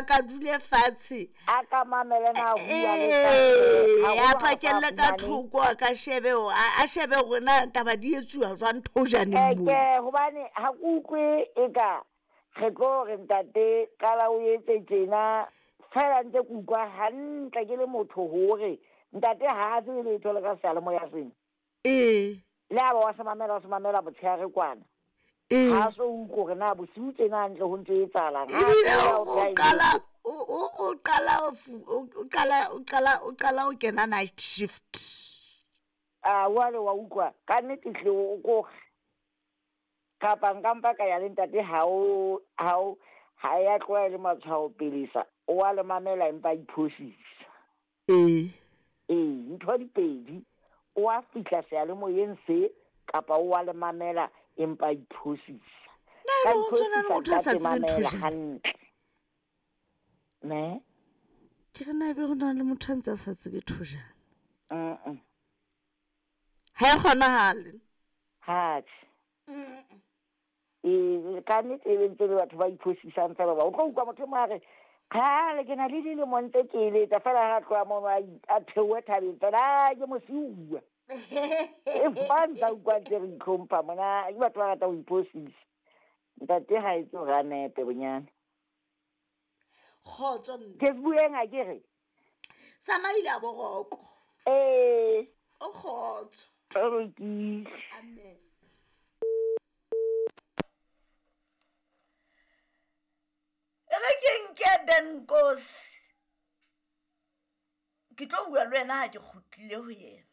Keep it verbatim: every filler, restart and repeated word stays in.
ka dule fatshe a ka mamele na bua le ee haholo a ha phakelle sa ka fumane. thoko a ka shebe ho- a a shebe hore na taba di etsuwa jwang thojaneng moo Eke hobane ha ke utlwe e ka re tlo re ntate qala o etse tjena fela ntse ke utlwa hantle ke le motho hore ntate ha a tsebe letho le ka seyalemoya sena. Ee Le ha ba wa se mamela wa se mamela motshehare kwana. ee Ha so utlwe hore na bosiu tjena hantle ho ntso etsahalang. Ha ebile a o tsoha o o qala o o- o qala o fu- o o qala o qala o qala o kena night shift. A wale wa utlwa ka nnete hle o ko kapa nka mpa ka ya le ntate ha o ha o ha ya tloha e le matshwao pelesa o wa le mamela empa a iphosisa. Ee Ee, ntho di pedi o wa fihla seyalemoyeng se kapa o wa le mamela empa a iphosisa. Na Ka ebe ho ntso na le iphosisa motho a sa ntate tsebeng mamela thojana? hantle. Ne? Ke re na ebe ho na le motho a ntse a sa tsebe thojana? Mm. Ha e kgonahale. Hatjhe. Ee, ka nnete e be ntse le batho ba iphosisang fela hoba o tlo utlwa motho e mong a re kgale ke na le dilemo ntse ke eletsa fela ha tloha mono a i- a theohe thabeng fela "Ah, ke mosiuwa." Empa ntsa utlwa ntse re itlhompha mona ke batho ba ratang ho iphosisa. Ntate ha etse hore a nepe bonyane. Kgotso mme. Ke se bueng akere? Sa maile a boroko. Ee. O kgotso. O lokile. Amen. E re ke nke Benkosi. Ke tlo bua le wena ha ke kgutlile ho yena.